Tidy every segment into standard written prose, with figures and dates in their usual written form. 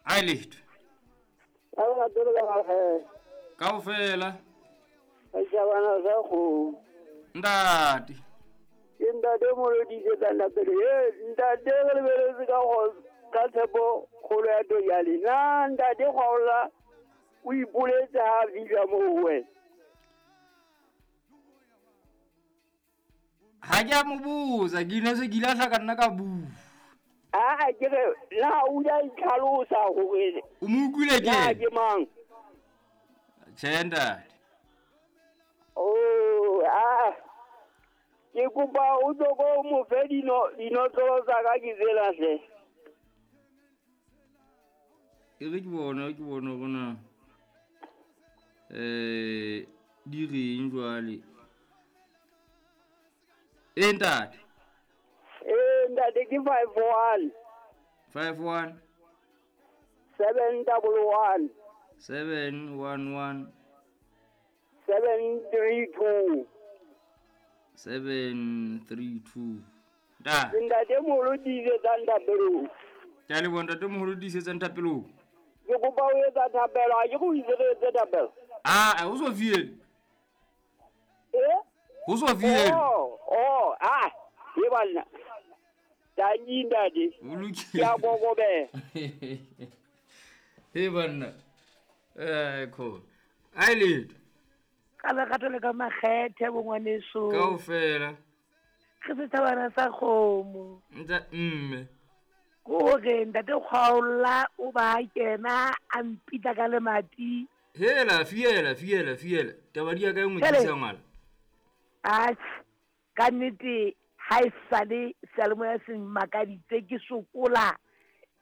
A letho. Ka lerato le ka makgethe. Kaofela. Setjhabana sa kgomo. Ntate. Ke ntate moholo tiisetsang thapelo. He ntate re lebeletse ka ka tshepo kgolo ya Tojale. Na ntate Kgwaolla o ipoletse ha a fihla moo ho wena? Ha ke a mo botsa, ke ile se ke ile a hla ka nna ka bua. Aa ke re na o ile a itlhalosa hore O mo utlwile ke? na ke mang? Tjhe ntate. Oh, aa ke kopa o tlo ko mo fe dino dinotlolo tsa ka ke tsela hle. E re ke bone ke bone hore na eh di reng jwale. E ntate. Ee ntate ke 51 51 711 711 732. 732. Ntate. Ntate moholo tiisetsang thapelong. Ke a leboha ntate moholo tiisetsang thapelong. Ke kopa o etsa thapelo, ha ke re o itse re etse thapelo. Ah, o so fiele. Eh? Ho so fiele. Oh, oh, ah, e banna. Tanki ntate. O lokile. Ke a kokobela. He banna. Eh, khona. Ai letho. Ka lerato le ka makgethe bo ngwaneso. Kaofela. Re sethabana sa kgomo. Nta mme. Ke hore ntate Kgwaolla o ba kena a mpitla ka lemati. Hela, fiela, fiela, fiela. Taba di ya ka e nngwe Jwale- tlisa ngwana. Atjhe, ka nnete ha e sale seyalemoya se mmakaditse ke sokola.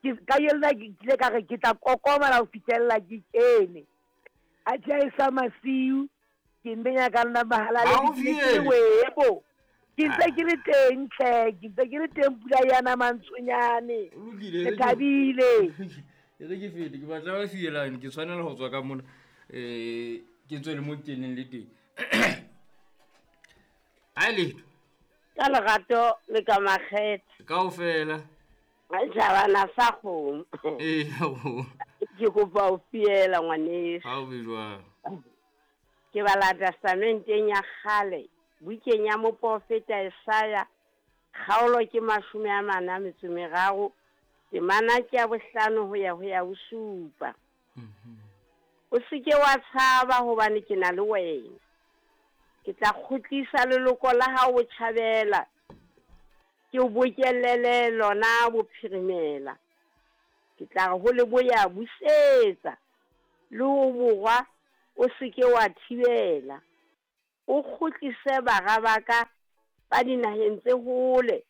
Ke ka yona ke kile ka re ke tla kokomela ho fihlella ke kene. Atjhe ha e sa masiu ke mbenya ka nna mahala Ha o le ke le fiele. webo. Ke ntse ke le teng tlhe, ke ntse ke le teng pula ya na mantshonyane. O lokile, Ke e re ke- thabile. E re ke fete, ke batla ba fielane, ke tshwanela ho tswa ka mona. Eh, ke tswe le mo ke keneng le teng. Ai letho. Ka lerato le ka makgethe. Kaofela. Setjhabana sa kgomo. Ee, ho. Ke kopa ho fiela ngwaneso. Ha o be jwang. Ke bala testamenteng ya kgale, bukeng ya moprofeta Isaya, kgaolo ke 43, temana ke ya 5 ho ya ho ya 7. O seke wa tshaba hobane ke na le wena. Ke tla kgutlisa leloko la hao botjhabela, ke o bokellele lona bophirimela. Ke tla re ho leboya busetsa, le ho borwa o seke wa thibela. O kgutlise bara ba ka ba dinaheng tse hole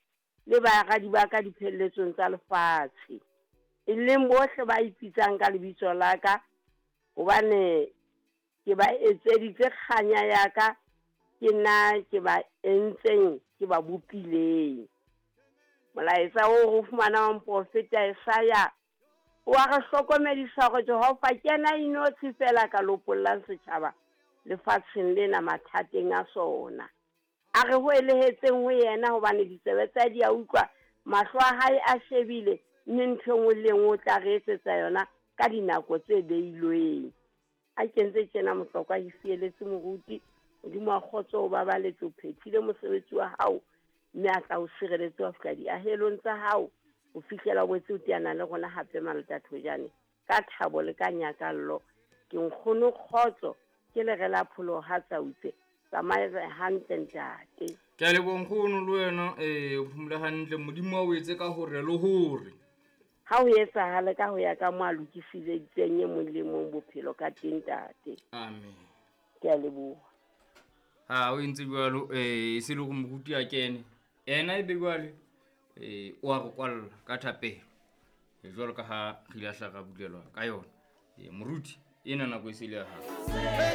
le baradi ba ka diphelletsong tsa lefatshe, e leng bohle ba ipitsang ka lebitso la ka, hobane ke ba etseditse kganya ya ka, ke nna ke ba entseng, ke ba bopileng. Molaetsa oo re o fumanang moprofeta Isaya o wa re hlokomedisa hore Jehova ke yena a inotshi feela ka lopollang setjhaba lefatsheng lena mathateng a sona. A re hoelehetseng ho yena hobane ditsebe tsa di a utlwa, mahlo a hae a shebile, mme ntho e nngwe le e nngwe o tla re etsetsa yona ka dinako tse beilweng. A kentse tjena mohlokwa ke fieletse moruti, Modimo wa kgotso o babaletse, o phethile mosebetsi wa hao, mme a tla o sireletse wa fihla diahelong tsa hao, ho fihlela o boetse o teana le rona hape malatathojane ka thabo le ka nyakallo. Ke nkgono kgotso, ke lere la pholoho ha tsautse. Tsamaye hantle ntate. Ke a leboha nkgono le wena, o phomole hantle, Modimo a o etse ka hore le hore. Ha ho etsahale ka ho ya ka mo a lokiseditseng e mong le mong bophelo ka teng ntate. Amen. Ke a leboha. Ha o entse jwalo, se le hore moruti a kene. Ena ebe jwale, o a re kwalla ka thapelo. Jwalo ka ha re ile hla ra bulelwa ka yona. Moruti, ena nako e se le ya hao.